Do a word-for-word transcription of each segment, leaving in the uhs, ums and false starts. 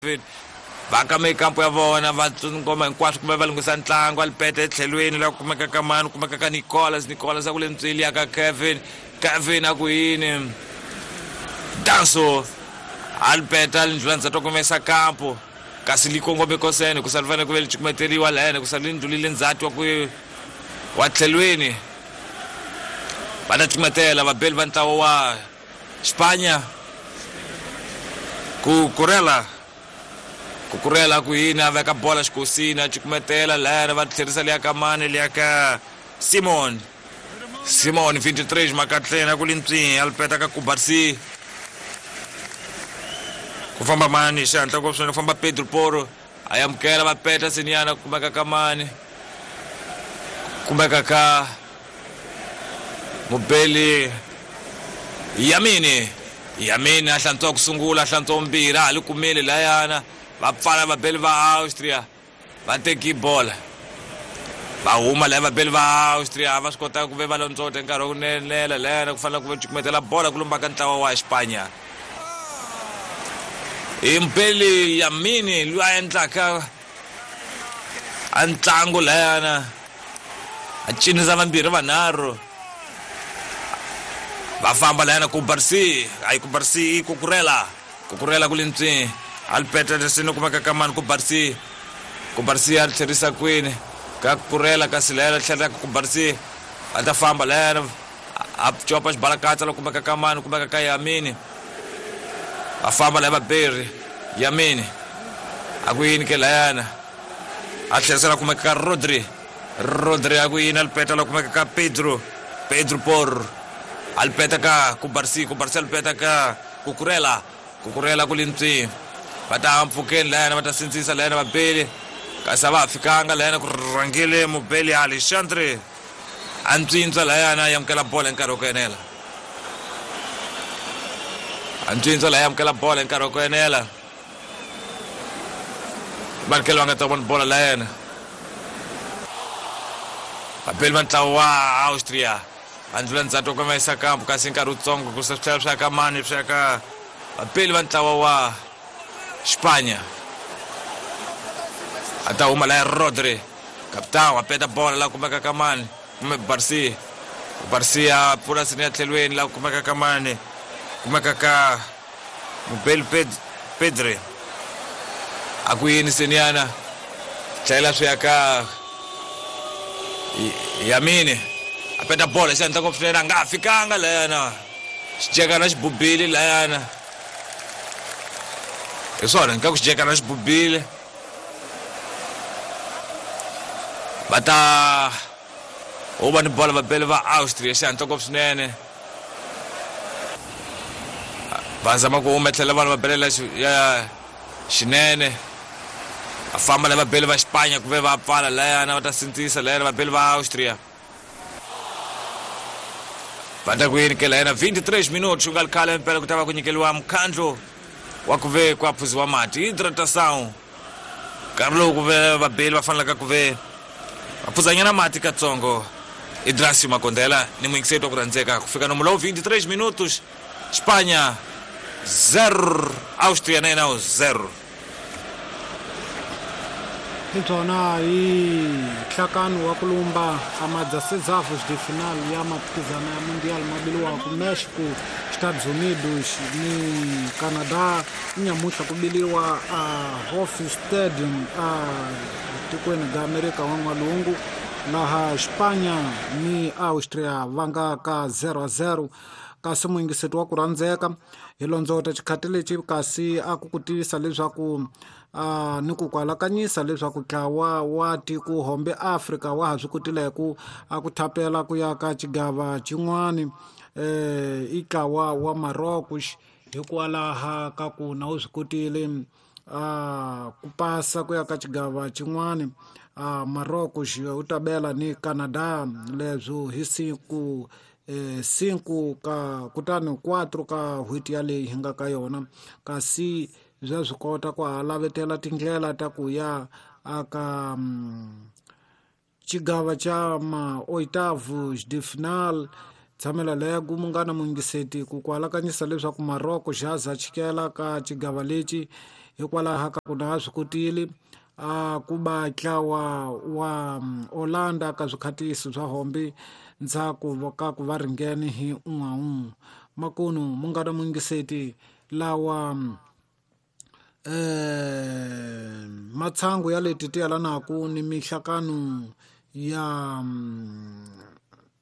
Va ka mikampo ya vona va ngoma hinkwaswo kumbe va lunghisa ntlangu alipete etlhelweni la kumeka ka mani kumeka ka Nicolas Nicolas a ku le ntsweli ya ka Kevin Kevin a ku yini Danso alipeta lindlula ndzhato kumesa kampo kasi likongome kosene ku salivane ku ve licukumeteriwa lahene ku sali ndlulile ndzhati wa ku wa tlhelweni va ta cukumetela vabeli va ntlawa wa Spanya ku kurela kukurela ku yini a veka bola xikosini a cukumetela lahena va tlherisa liya ka mani liya ka Simon Simon vinte e três makatleni a ku lintswini alipeta ka Kubarsi ku famba mani xihatla ngopfu swinene ku famba Pedro Porro a amukela va peta seniyana kumeka ka mani kumeka ka mubeli Yamini Yamini a hlantswa ku sungula a hlantswa vumbirhi a ha li kumile layana va pfala vabeli va Austria va teki bola va huma laya vabeli va Austria va swi kota ku ve va londzota nkarhi wa ku nenela layana ku fanele ku va cukumetela bola ku lumba ka ntlawa wa Spanya i Mbeli Yamini loyi a endlaka a ntlangu layana a cinisa vambirhi vanharhu va famba layana ku Barsi ayi ku Barsi ku kurela ku kurela ku lintswini alipeta lesini kumeka ka mani ku Barsi ku Barsi a tlherisa kwini ka kurela kasi layana tlherisa ku Barsi a ta famba layana a copa xibalakatsa loko kumeka ka mani kumeka ka Yamini va famba laya vaberi Yamini a ku yini ke layana a tlherisela kumeka ka Rodri Rodri a ku yini alipeta loko kumeka ka Pedro Pedro Porro alipeta ka Kubarsi Kubarsi alipeta ka Kukurela Kukurela ku lintswini va ta mpfhukeni layana va ta sindzisa layana vabeli kasi a va ha fikanga layana ku rhangile mubeli Alexandre a ntswintswa layana a amukela bola hi nkarhi wa ku enela a ntswintswa laya amukela bola hi nkarhi wa ku enela vanikeli va nga ta vona bola layena vabeli va ntlawa wa Austria va ndlula ndzhato ku va yisa kampo kasi nkarhi wutsongo ku se swi tlhela swi ya ka mani swi ya ka vabeli va ntlawa wa Spanya a ta huma laya Rodri capitão a peta bola la kumeka ka mani kumbe Barsi Barsi a pfula sini ya tlhelweni la kumeka ka mani kumeka ka mubeli Pedri a ku yini seniyana tlhela swi ya ka Yamini a peta bola xi endla ngopfu swinene a nga ha fikanga layana xijekana xi bubile layana hi swona ni ka ku xijekana xi bubile va ta huma ni bola vabeli va Austria xihatla ngopfu swinene va zama ku huma tlhela vanhu va belela ya xinene va famba la vabeli va Spanya ku ve va pfala layana va ta sindzisa layana vabeli va Austria va ta ku yini ke layana vinte e três minutos ku nga ri khale mpela ku ta va ku nyikeliwa mukhandlu wa ku ve ku aphuziwa mati hidratação nkarhi lowu ku ve vabeli va fanelaka ku ve va phuzanyana mati katsongo Idrasio Makondela ni muyingiseti wa ku rhandzeka ku fika nomu lowu vinte e três minutos Spanya zero Austria na yena zero. Hi byona hi nhlakano wa ku lumba a madzasezavu de final ya mphikizano ya Mundial mabiliwaku Mexico, Estados Unidos ni Canada nyamuhla ku biliwa a Hofi Stadium a tikweni ga Amerika wa N'walungu laha Spanya ni Austria va nga ka zero a zero. Kasi muyingiseti wa ku rhandzeka hi londzota xikhati lexi kasi a ku ku tivisa leswaku uh, ni ku kwalakanyisa leswaku ntlawa wa tiko hombe Afrika wa ha swi kotile ku a ku thapela ku ya ka xigava xin'wani eh i ntlawa wa Marocos hikwalaha ka ku na wu swi kotile uh, ku pasa ku ya ka xigava xin'wani uh, Marocos wu ta bela ni Canada leswo hi siku eh, cinco ka kutani quatro ka n'hweti yaleyi hi nga ka yona kasi bya swi kota ku ha lavetela tindlela ta ku ya aka um, xigava xa ma oitavos de final tshamela lego munghana muyingiseti ku ku alakanyisa leswaku Marocco xa za chikela ka xigava lexi Hikwalaho ka ku na swi kotile a ku ba ntlawa wa Holanda ka swikhatisi swa hombi ndzhaku ka ku va ringene hi un'we un'we. Makunu munghana muyingiseti lawa eh matsangu ya leti ti yalanaku ni mihlakano ya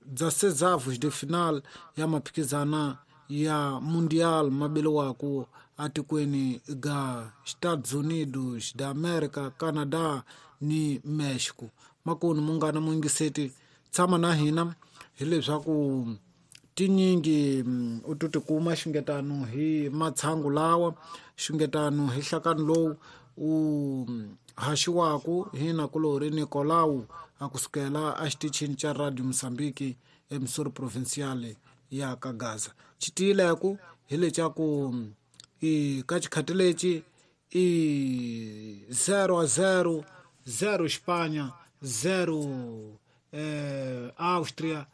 dezesseis de final ya maphikizana ya Mundial mabeliwaku atikweni ga Estados Unidos da America, Canada ni Mexico. Makunu munghana muyingiseti tshama na hina hileswaku tinyingi u to tikuma xingetano hi matshangu lawa xingetano hi hlakano lowu u haxiwaku hi nakulori Nicolau a kusukela a xitichini xa Radio Mozambique eMissouri Provincial ya ka Gaza. Xitiyileku hi lecaku i ka xikhati lexi i zero a zero, zero Espanha, zero eh, Austria.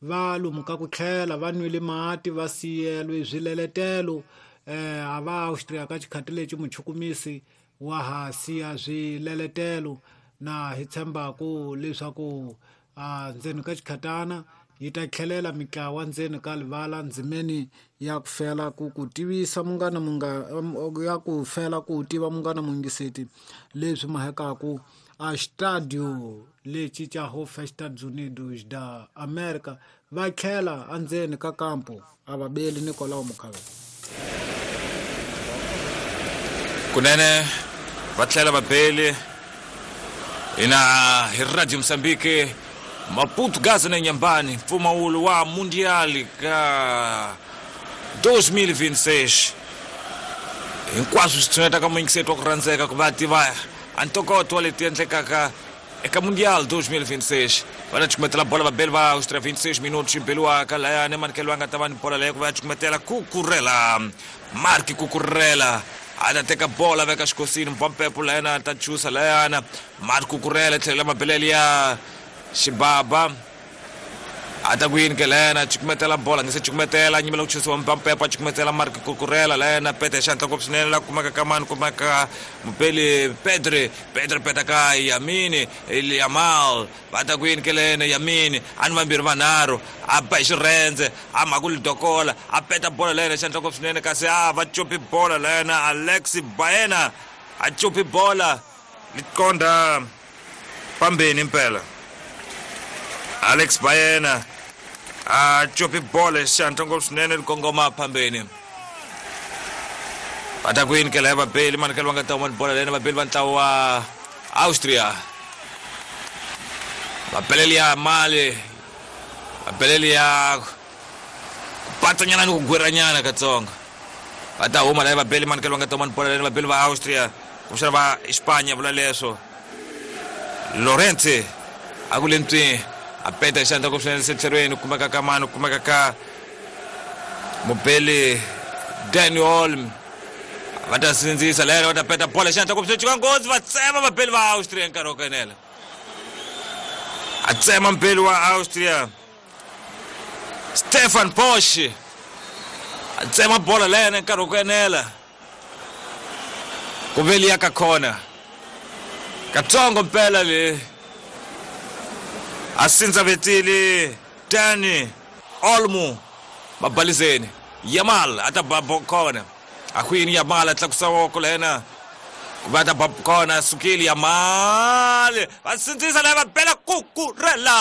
Va lomu ka ku tlhela va nwile mati va siyelwe swileletelo eh a va Austria ka xikhati lexi muchukumisi wa ha siya swileletelo na hi tshembaku leswaku a ndzeni ka xikhatana yi ta tlhelela mitlawa ndzeni ka livala ndzimeni ya ku fela ku ku tivisa munghana munga ya ku fela ku tiva munghana muyingiseti leswi mahekaku a stadio lexi xa Hof Estados Unidos da America va tlhela endzeni ka kampo a va beli Nicolau Mukhavela. Kunene va tlhela va beli ina hi Radio Mozambique Maputo Gaza na Inhambane mpfumawulo wa Mundial ka dois mil e vinte e seis hinkwaswo swi tshuneta ka muyingiseti wa ku rhandzeka ku va tiva a ntokoto wa leti endlekaka eka Mundial dois mil e vinte e seis. Va ta cukumetela bola vabeli va Austria vinte e seis minutos beliwaka layani manikelo a nga ta va ni bola leyo ku va ya cukumetela Cucurella Marc Cucurella a ta teka bola veka xikosini mpampepo layana ta chusa layana Marc Cucurella tlhela mabelele ya xibaba a ta ku yini ke layana cukumetela bola nge se cukumetela nyimela ku chusiwa mpampepo a cukumetela Marc Cucurella layana pete xantla ngopfu swinene la kumeka ka mani kumeka mupeli Pedri Pedri peta ka Yamini Yamal va ta ku yini ke layana Yamini a ni vambirhi vanharhu a ba hi xirhendze a mhaku lidokola a peta bola layana xantla ngopfu swinene kasi a va copi bola layana Alex Baena a copi bola liqonda pambeni impela Alex Baena a copi bola xantla ngopfu swinene likongoma phambeni. Va ta ku yini ke laya vabeli manikelo va nga ta huma ni bola leyana vabeli va ntlawa wa Austria vabeleli ya mali vabeleli ya ku patsanyana ni ku gwiranyana katsongo va ta huma laya vabeli manikelo va nga ta huma ni bola leyana vabeli va Austria kumbexana va Espanya vula leswo Lorente a ku le ntwini a peta xandla ngopfu swinene setlherweni kumeka ka mani kumeka ka mubeli Dani Olmo va ta sindzisa lero va ta peta bola xandla ngopfu swinene nghozi va tsema vabeli va Austria nkarhi wo kenela a tsema mubeli wa Austria Stefan Posch a tsema bola lena nkarhi wo kenela ku veli ya ka khona katsongo mpela le a sindza vetile Dani Olmo mabalizeni Yamal a ta ba khona a kwini Yamal a tlakusa voko lena ku va ta ba khona sukile Yamal va sindzisa lava bela Cucurella